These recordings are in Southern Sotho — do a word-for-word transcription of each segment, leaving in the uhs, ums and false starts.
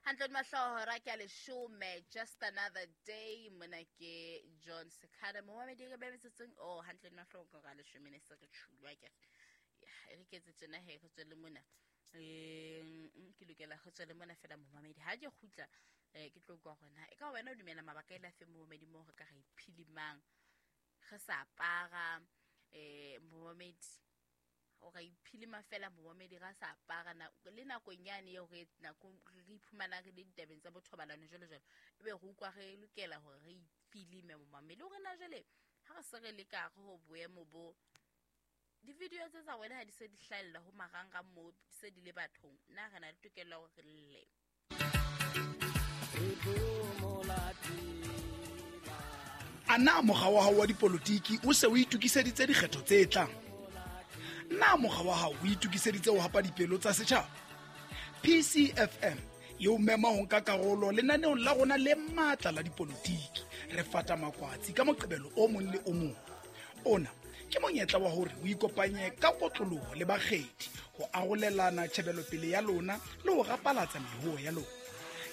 Hantle mahloho hora ke a leshome, just another day. Mona ke John Sekada, momamedi re be metsotsong o hantle mahloho ka hora leshome ne se re tshulwa ke e re ke etse tjena he, re tswele mona. um ke lokela re tswele mona fela, momamedi. Ha ke kgutla, um ke tlo kwa gona e ka wena o dumela mabaka e le afe, momamedi, mo re ka ra iphilimang re sa apara? um momamedi, o ra iphilima fela, momamedi, ra sa apara le nakong yane eo re nako re iphumanang re le ditabeng tsa bothobalano jwalo jwalo, ebe re utlwa re lokela hore re ifilime, momamedi, hore na jwale ha re se re le ka hare ho boemo bo, di-video tse tsa wena ha di se di hlahella ho marangrang mo, di se di le bathong, na re na le tokelo ya hore re lle? A na mokga wa hao wa dipolotiki o se o itokiseditse dikgetho tse tlang? Na mokga wa hao o itokiseditse ho hapa dipelo tsa setjhaba? P C F M e o mema ho nka karolo lenaneong la rona le matla la dipolotiki, Re Fata Makwatsi, ka Moqebelo o mong le o mong. Ona ke monyetla wa hore o ikopanye ka kotloloho le bakgethi ho arolelana tjhebelopele ya lona le ho rapalatsa mehoo ya lona.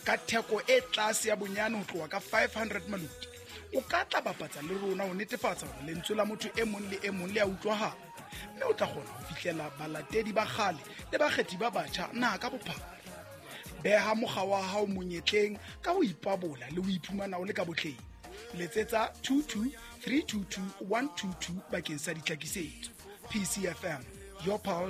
Ka theko e tlase ya bonyane ho tloha ka five hundred maluti, o ka tla bapatsa le rona ho netefatsa hore lentswe la motho e mong le e mong le a utlwahala, mme o tla kgona ho fihlela balatedi ba kgale le bakgethi ba batjha naha ka bophara. Beha mokga wa hao monyetleng ka ho ipabola le ho iphumana o le ka botleng. Letsetsa two two three two two one two two bakeng sa ditlhakisetso. P C F M, your pulse.